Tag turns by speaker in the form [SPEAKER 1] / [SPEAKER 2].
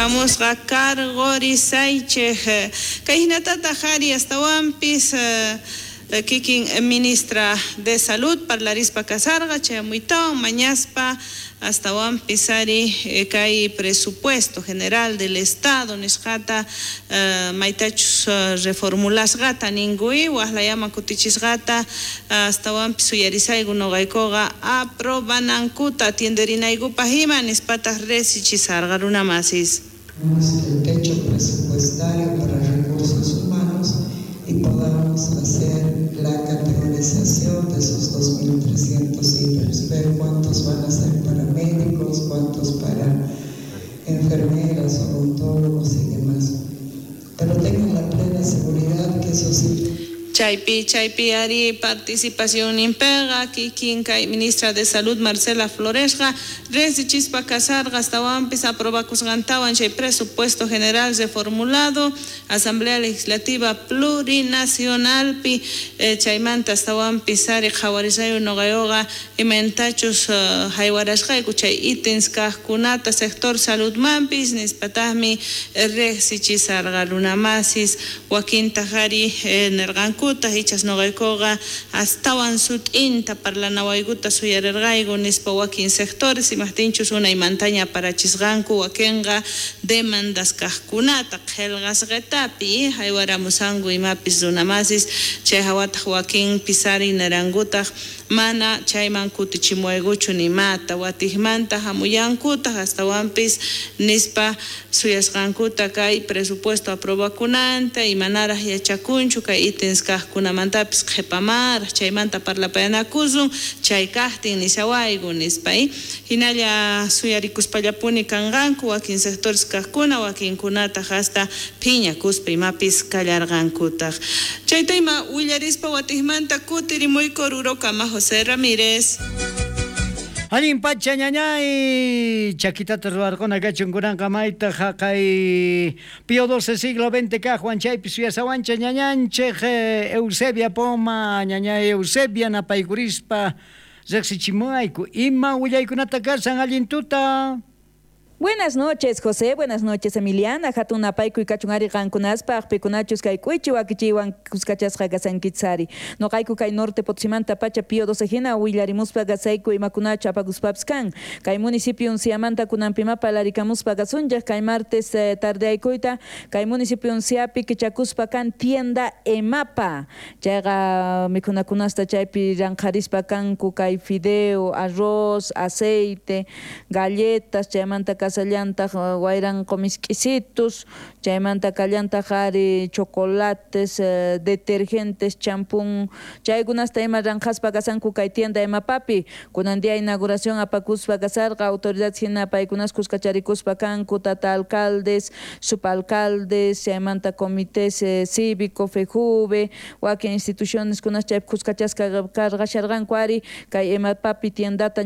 [SPEAKER 1] Hamusqa karqurisaychej kay hinatataj ari astawanpis kikin ministra de Salud parlarispa kasarqa chayamuytawan mañaspa astawanpis ari kay presupuesto general del Estado nisqata maytachus reformulasqata ninkuy waqlayaman kutichisqata astawanpis suyarisayku noqaykuqa aprobanankuta atienderinaykupaq ima nispataq resichisarqa runamasis.
[SPEAKER 2] El techo presupuestario para recursos humanos y podamos hacer la categorización de esos 2.300 ítems, ver cuántos van a ser para médicos, cuántos para enfermeras, odontólogos y demás. Pero tengan la plena seguridad que esos ítems.
[SPEAKER 1] Chaypi, chaypi ari participación impega, kikin kay ministra de Salud Marcela Floresqa, resichispa kasarqa astawanpis aprobakusqantawan chay presupuesto general reformulado, Asamblea Legislativa Plurinacionalpi, chaymanta astawanpis ari qhawarisayu noqayuqa imaynatachus haywarasqayku chay ítems kaqkunata sector saludmanpis nispataqmi resichisarqa runamasis wakintaq ari nerqanku ichas noqaykuqa astawan sut'inta parlanawaykuta suyarirqayku nispa wakin sectores imaqtinchus unaymantaña parachisqanku wakinqa demandas kaqkunata qillqasqitapi haywaramusanku imapis runamasis chay hawataq wakinpis ari nirankutaq mana chayman kutichimuwaykuchu nimata watiqmanta hamuyankutaq astawanpis nispa suyasqankuta kay presupuesto aprobakunanta imanaraq yachakunchu kay ítems kaqkunamantapis qhipamaraq chaymanta parlapayanakusun chay kaqtin nishawayku nispa hinalla suyarikuspallapuni kanqanku wakin sectores kaqkuna wakinkunataq hasta phiñakuspa imapis kallarqankutaq chayta ima willarispa watiqmanta kutirimuyku Orurokama José Ramírez.
[SPEAKER 3] Allin pacha ñañay chakitata ruwarquna kachun kunanqa mayta haqay Pío XII siglo XX kaqwan chaypi suyasawancha ñañanchej Eusebia Poma ñañay Eusebia napaykurispa riqsichimuwayku ima willaykunata kasan allin tuta.
[SPEAKER 4] Buenas noches, José. Buenas noches, Emiliana. Hatun napaykuy kachun ari qankunaspaq pikunachus kay k'uychi wakichiywan kuskachasqa kasankitsari. Noqayku kay norte Potosimanta pacha Pío XII hina willarimuspa kasayku imakunachu apakuspapis kan. Kay municipio unciamanta kunanpima parlarikamuspa kasunchaq kay martes tardeaykuyta kay municipio unciapi kichakuspa kan tienda Emapa. Chayqa mikhunakunasta chaypi ranqharispa kanku kay fideo, arroz, aceite, galletas, chaymanta kasallantaq wayranqo misk'isitus, chaymanta kallantaq ari chocolates, detergentes, champún, chaykunasta ima ranqhaspa kasanku kay tienda Emapapi. Kunan día inauguración apakuspa kasarqa autoridades hina paykunas kuskacharikuspa kanku, tata alcaldes, subalcaldes, chaymanta comités cívico, FEJUVE, wakin instituciones kunas chaypi kuskachasqa karqasharqanku ari kay Emapapi tiendata.